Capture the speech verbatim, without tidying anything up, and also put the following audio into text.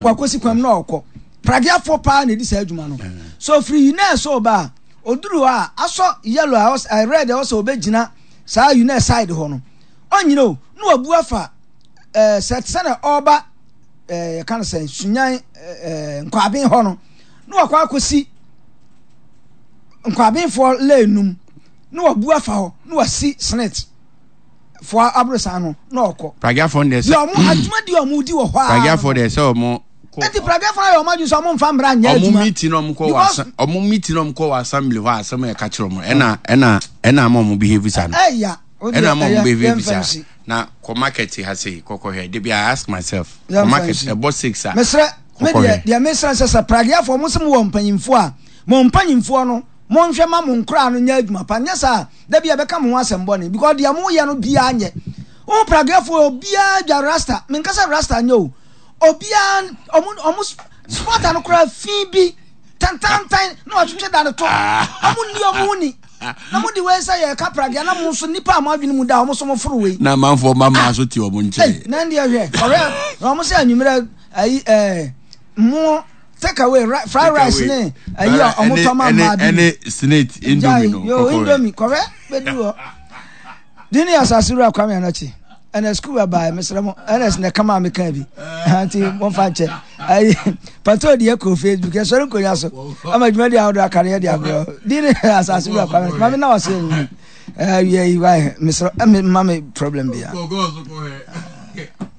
Wakɔsi kwan mu na ɔkɔ. Pragiafoɔ paa na ɛdi saa adwuma no. So firi UNES so ba a, ɔduru hɔ a, asɔ yellow a ɔs- red a ɔsɛ ɔbɛgyina saa UNES side hɔ no, ɔnyina o, na wabu afa ɛɛ sɛ sɛnɛ ɔreba ɛɛ yɛka no sɛ Sunyan ɛɛ Nkwaben hɔ no, na wakɔ akɔsi Nkwabenfoɔ lane num, na wabu afa hɔ na wasi SSNIT foɔ aborosan no na ɔkɔ. Pragiafoɔ deɛ sɛ ɔmo adwuma deɛ ɔmo di wɔ hɔ a. Pragiafoɔ deɛ sɛ ɔmo kɔ. Eti pragiafoɔ ayɛ ɔmo adwene sɛ ɔmo nfa mmara nyɛ adwuma. Ɔmo meeting na ɔmo kɔ wɔ asa ɔmo meeting na ɔmo kɔ wɔ assembly hɔ a, asɛm yɛ ka kyerɛ ɔmo ɛna ɛna ɛna ama ɔmo behave sa no. Ɛya. Ɛna ama ɔmo behave sa na kɔ market ha sei kɔkɔ hwɛ debi. I ask myself, kɔ market ɛbɔ six a. Mesrɛ me deɛ deɛ mesrɛ sɛ sɛ pragiafoɔ mo sɛ mo wɔ mpanyinfoɔ a, mo mpanyinfoɔ no monhwɛ ma mo nkoraa no nyɛ adwuma pa. Nyɛ saa, da bi a bɛka mo ho asɛm bɔne, because deɛ moyɛ no biara nyɛ wo. Pragiafoɔ obiara dwa rasta. Menka sɛ rasta nyɛ o. Obiara ɔmo ɔmo spɔta no koraa fi bi tantantan na watwetwe da no to. Ɔmo nni ɔmo ho ni na mo de wei sɛ yɛka pragea na mo nso nipa a mo adwene mu da ɔmo so mo foro wei. Na amanfoɔ ma maa so te ɔmo nkyɛn. Na ndeɛ hwɛ ɔhwɛ na ɔmo sɛ anwummerɛ ayi ɛɛ mo take away fried rice ne ayi a ɔmo tɔ ma mmaa bi. Ɛne SSNIT Indomie no. Yo, Indomie kɔhwɛ bɛdu hɔ. Dini Asase Wura Kwame Anakye ɛna sukuu abaa. Mesrɛ mo, ɛna na kama a meka bi nti momfa nkyɛ. Ayi pato deɛ kɔ Facebook yɛsɔre nkonnwa so ama dwumadi ahodoɔ aka no yɛde abrɛ. Dini Asase Wura Kwame Anakye, mame na wase awia yi wae. Mesrɛ, ma me problem bia.